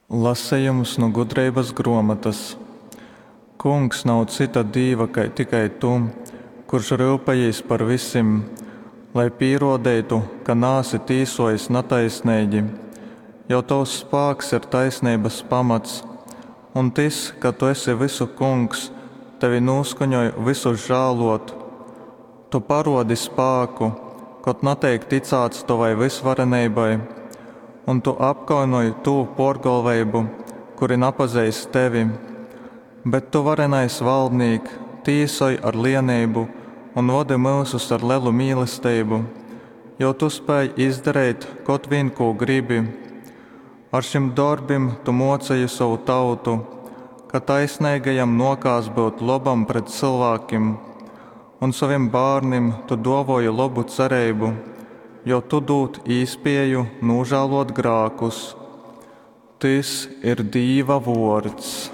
Lasejums nu Gudreibas grōmotas. Kungs, nav cyta Dīva kai tikai tu, kurš ryupejīs par visim, lai pīrōdeitu, ka naesi tīsōjis nataisneigi, jo tovs spāks ir taisneibas pamats, un tys, ka tu esi vysu Kungs, tevi nūskaņoj vysus žālōt. Tu parōdi spāku, kod nateik ticāts tovai vysvareneibai, un tu apkaunoj tū pōrgolveibu, kuri napazeist tevi. Bet tu, varenais Valdnīk, tīsoj ar lieneibu un vodi myusus ar lelu mīlesteibu, jo tu spēj izdareit kod vīn kū gribi. Ar šim dorbim tu mōceji sovu tautu, ka taisneigajam nōkās byut lobam pret cylvākim, un sovim bārnim tu dōvōji lobu cereibu, jo tu dūd īspēju nūžālōt grākus. Tys ir Dīva vōrds.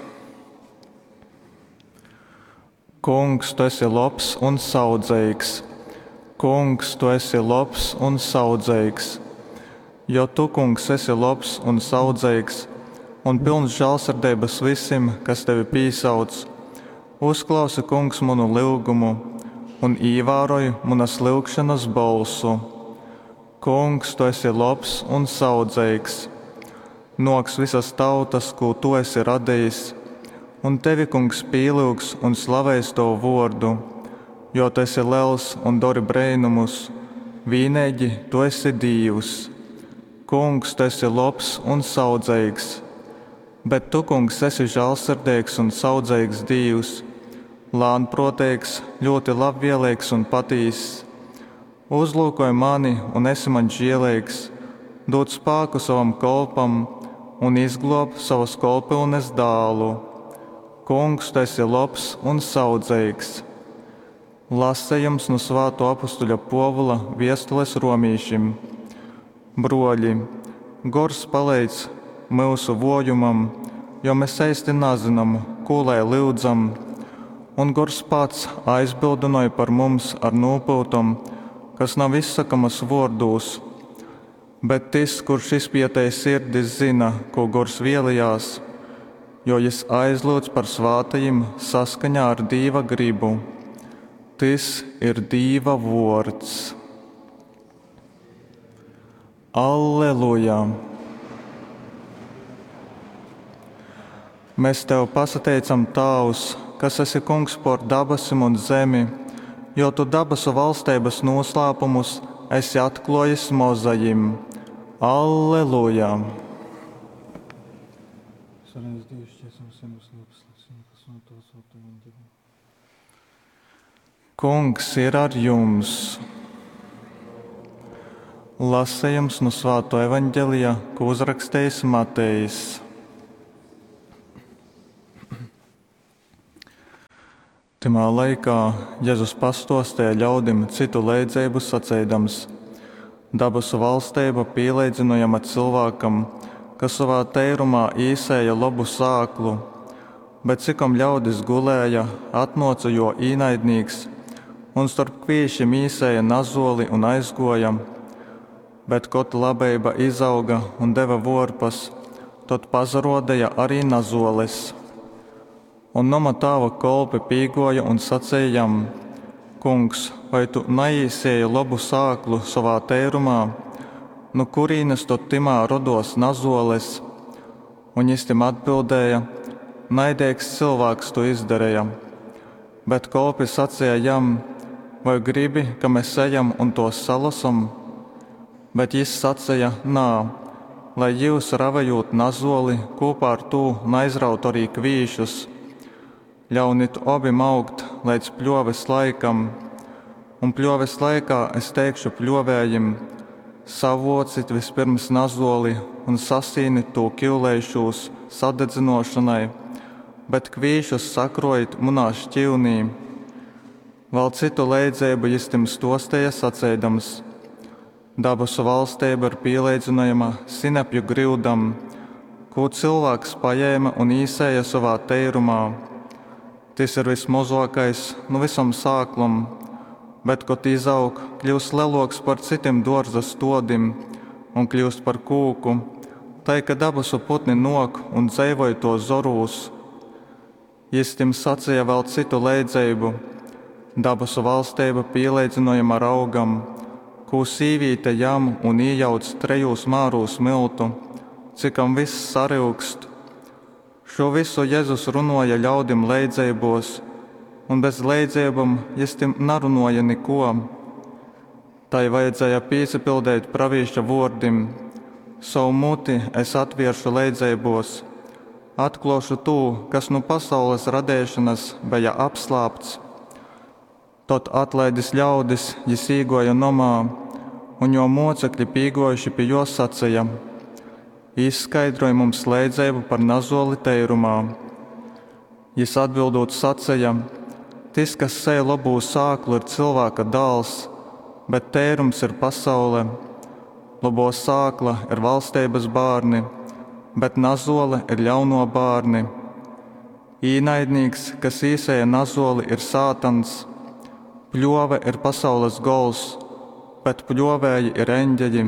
Kungs, tu esi lobs un saudzeigs. Kungs, tu esi lobs un saudzeigs. Jo tu, Kungs, esi lobs un saudzeigs un pylns žālsirdeibas vysim, kas tevi pīsauc, uzklausi, Kungs, munu lyugumu un īvāroj munas lyugšonas bolsu. Kungs, tu esi lobs un saudzeigs. Nōks vysas tautas, kū tu esi radejis, un tevi, Kungs, pīlyugs un slaveis tovu vōrdu, jo tu esi lels un dori breinumus, vīneigi tu esi Dīvs. Kungs, tu esi lobs un saudzeigs. Bet tu, Kungs, esi žālsirdeigs un saudzeigs Dīvs, lānprōteigs, ļūti labvieleigs un patīss. Uzlūkoj mani un esi maņ žieleigs, dūd spāku sovam kolpam un izglōb sovas kolpyunes dālu. Kungs, tu esi lobs un saudzeigs. Lasejums nu Svātō apustuļa Pōvula viestules romīšim. Brōļi, Gors paleidz myusu vōjumam, jo mes eisti nazynam, kū lai lyudzam, un Gors pats aizbyldynoj par mums ar nūpyutom, kas nav izsokamas vōrdūs. Bet tys, kurš izpietej sirdis, zyna, kū Gors vēlejās, jo jys aizlyudz par svātajim saskaņā ar Dīva grybu. Tys ir Dīva vōrds. Alleluja! Mēs tev pasateicam, Tāvs, kas esi Kungs pōr dabasim un zemi, jo tu dabasu valsteibas nūslāpumus esi atklōjis mozajim. Alleluja! Kungs ir ar jums! Lasejums nu Svāto evaņģelija, ko uzrakstījis Matejs. Tymā laikā Jezus pastuostīja ļaudim cytu leidzeibu saceidams: Dabasu valsteiba pīleidzynojama cylvākam, kas sovā teirumā īsēja lobu sāklu, bet cikom ļaudis gulēja, atnōca jō īnaidnīks un storp kvīšim īsēja nazoli un aizgōja. Bet, kod labeiba izauga un deva vōrpas, tod pasarōdeja arī nazoles. Un noma tāva kolpi pīgōja un saceja jam: Kungs, vai tu naīsēji lobu sāklu sovā teirumā? Nu kurīnes tod tymā rodōs nazoles? Un jys tim atbildēja: Naideigs cylvāks tū izdareja. Bet kolpi saceja jam: Voi gribi, ka mes ejam un tōs salosom? Bet jys saceja: Nā, lai jyus ravejūt nazoli kūpā ar tū naizrautu arī kvīšus. Ļaunit obim augt leidz pļōves laikam, un pļōves laikā es teikšu pļōvējim: savōcit vispirms nazoli un sasīnit tū kyuleišūs sadedzynōšonai, bet kvīšus sakrojit munā šķiunī. Vēl cytu leidzeibu jys tim stōsteja saceidams: Dabasu valsteiba ir pīleidzynojama sinepju gryudam, kū cylvāks pajēma un īsēja sovā teirumā. Tys ir vysmozōkais nu vysom sāklom, bet, kod izaug, kļūst lelōks par cytim dōrza stōdim un kļūst par kūku, tai ka dabasu putni nōk un dzeivoj tō zorūs. Jys tim saceja vēl cytu leidzeibu, Dabasu vaļsteiba pīleidzynojama raugam, kū sīvīte jam un ījauc trejūs mārūs myltu, cikom vyss saryugst. Šū vysu Jezus runōja ļaudim leidzeibōs, un bez leidzeibom jys tim narunōja nikō. Tai vajadzēja pīsapiļdeit pravīša vōrdim, Sovu muti es atvēršu leidzeibōs, atklōšu tū, kas nu pasaules radeišonas beja apslāpts. Tod, atlaidis ļaudis, jys īgōja nomā, un jō mōcekli pīgōjuši pi jō saceja, Izskaidroj mums leidzeibu par nazōli teirumā. Jys atbildūt saceja, Tys, kas sēj lobū sāklu, ir Cylvāka Dāls, bet teirums ir pasaule. Lobō sākla ir vaļsteibas bārni, bet nazōle ir ļaunō bārni. Īnaidnīks, kas īsēja nazōli, ir sātans. Pļōve ir pasaules gols, bet pļōvēji ir eņgeļi.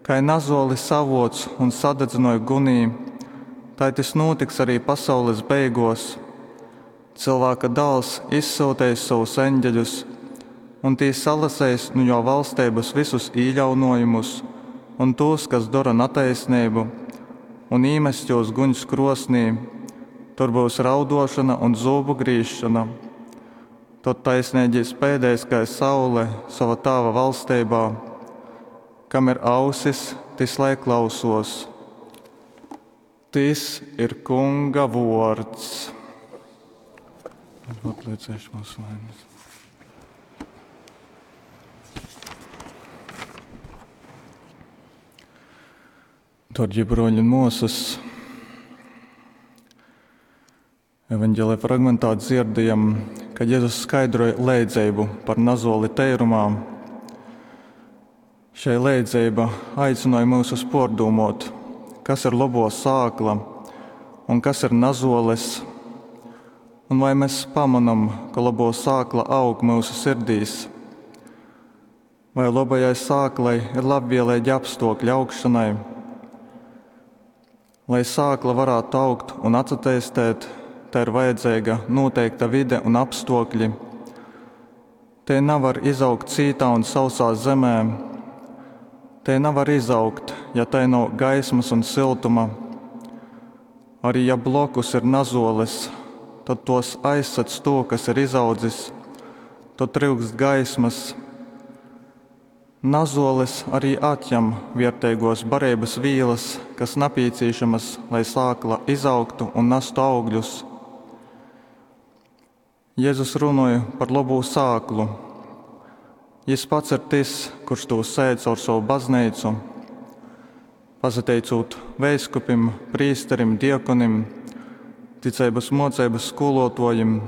Kai nazōli savōc un sadadzynoj gunī, tai tys nūtiks ari pasaules beigōs. Cylvāka Dāls izsyuteis sovus eņgeļus, un tī salaseis nu jō vaļsteibas vysus īļaunōjumus un tūs, kas dora nataisneibu, un īmess jūs guņs krōsnī. Tur byus raudōšona un zūbu grīzšona. Tod taisneigī speidēs kai saule sova Tāva vaļsteibā. Kam ir ausis, tys lai klausōs. Tys ir Kunga vōrds. Atliecēšu mūsu vainas. Darbie broļi un māsas, evanģēlija fragmentā dzirdējam, ka Jēzus skaidroja leidzeibu par nazoli teirumā. Šei leidzeiba aicināja mūs pārdomot, kas ir labo sākla un kas ir nazoles, un vai mēs pamanam, ka labo sākla aug mūsu sirdīs. Vai labajai sāklai ir labvēlīgi apstākļi augšanai? Lai sākla varētu augt un atsatīstīt, tai ir vajadzīga noteikta vide un apstākļi. Te nevar izaugt cītā un sausā zemē. Te nevar izaugt, ja tai nav gaismas un siltuma. Arī ja blokus ir nazoles, tad tos aizsedz to, kas ir izaudzis, tad tryukst gaismas. Nazoles arī atņem vērtīgos barības vīlas, kas nepieciešamas, lai sākla izaugtu un nestu augļus. Jēzus runāja par labo sāklu. Jis pats ir tas, kurš to sēž caur savu baznīcu. Pasateicot veiskupim, prīsterim, diakonim, ticības mocības skolotājiem,